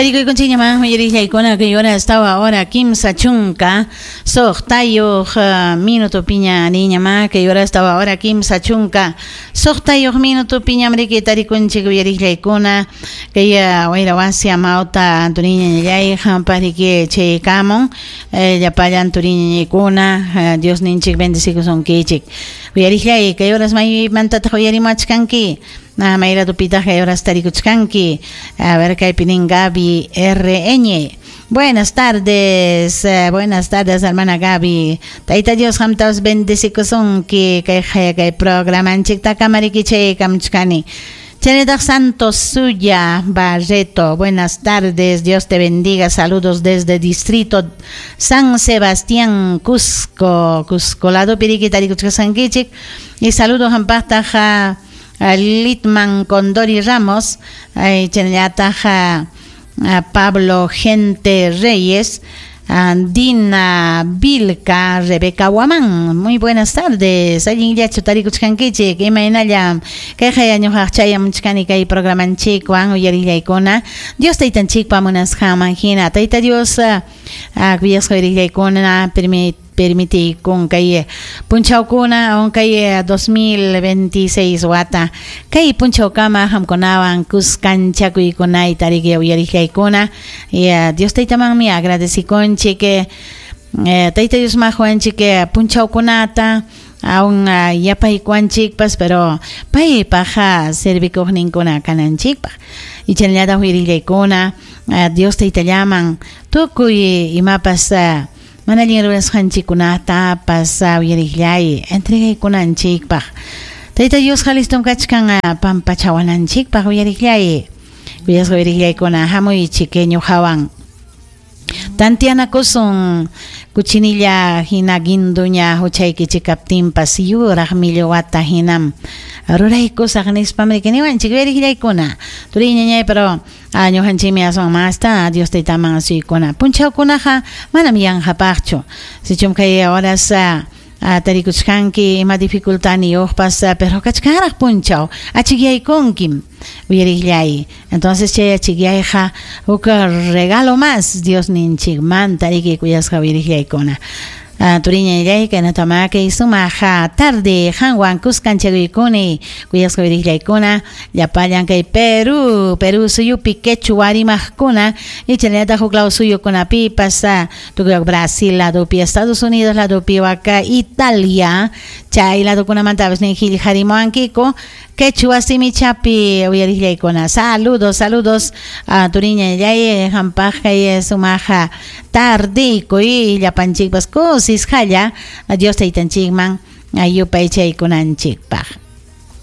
Tarikuykunchikñamá uyariqllaykuna kay horas tawa hora 36 minutopiña niñamá kay horas tawa hora 36 minutopiñam riki tarikunchik uyariqllaykuna kay wayra wasi amawta Antoniña ñañay qampa riki chaykamun llapallan turiñañaykuna Diosninchik bendecikusunkichik uyariqllay kay horas maymantataq uyarimuachkanki mayladupitaq kay horas tarikuchkanki. A ver, kaypi nin Gaby RN. Buenas tardes, buenas tardes, hermana Gaby. Tayta Dios qamtas bendecikusunki kay kay programanchikta kamariki kamchkani. Chaynataq Santos Suya Barreto, buenas tardes, Dios te bendiga, saludos desde Distrito San Sebastián, Cusco, Cusco, lado piriki tarikuchkasankichik, y saludos hampaqtaq Litman Condori Ramos, chaynallataq Pablo Gente Reyes, Dina Vilca, Rebeca Guamán. Muy buenas tardes. Allinllachu tarikuchkankichik, imaynallam kay ñuqaq chayamuchkani kay programanchikwan uyarillaykuna. Dios taytanchikpa munasqanman hina. Tayta Dios kuyasqa uyarillaykuna permitikun kay punchawkuna aun kay 2026 wata kay punchawkama qamkunawan kuskanchakuykunayta riki uyariqllaykuna. Y Dios taytamanmi agradecikunchik Tayta Dios mahuanchik punchawkunata aun yapaykuanchikpas pero paypaq servikuqninkuna kananchikpaq y chaynallataq uyarillaykuna Dios taytallaman tukuy imapas mana allin rurasqanchikkunatapas uyariqllay entregaykunanchikpaq Tayta Diosqa listom kachkan pampachawananchikpaq uyariqllay kuyasqa uyariqllaykuna hamuychik ñuqawan tantianakusun kuchinilla hina guinduña huchaykichik kaptinpas yuraq millwata hinam ruraykusaq nispam riki niwanchik uyariqllaykuna turiñañay pero ñuqanchikmi aswan masta Dios taytaman asuykuna punchawkunaqa manam yanqapaqchu sichum kay horas tarikuchkanki ima dificultadniyuqpas pero kachkanraq punchaw achikyaykunkim uyariqllay entonces chay achikyayqa huk regalo más Dios ninchikmanta riki kuyasqa uyariqllaykuna turiñallay kaynatamá kay sumaq tarde qanwan kuskanchakuykuni kuyasqa uyariqllaykuna llapallan kay Perú Perú suyupi quechua rimaqkuna y chaynallataq huk law suyukunapipas tukuy Brasil ladopi Estados Unidos ladopi waka Italia chay ladokunamantapas nin qillqarimuwankiku quechua simichapi uyariqllaykuna saludos saludos turiñallay qampaq kay sumaq tardeykuy llapanchikpas kusisqalla Dios taytanchikman yupaychaykunanchikpaq.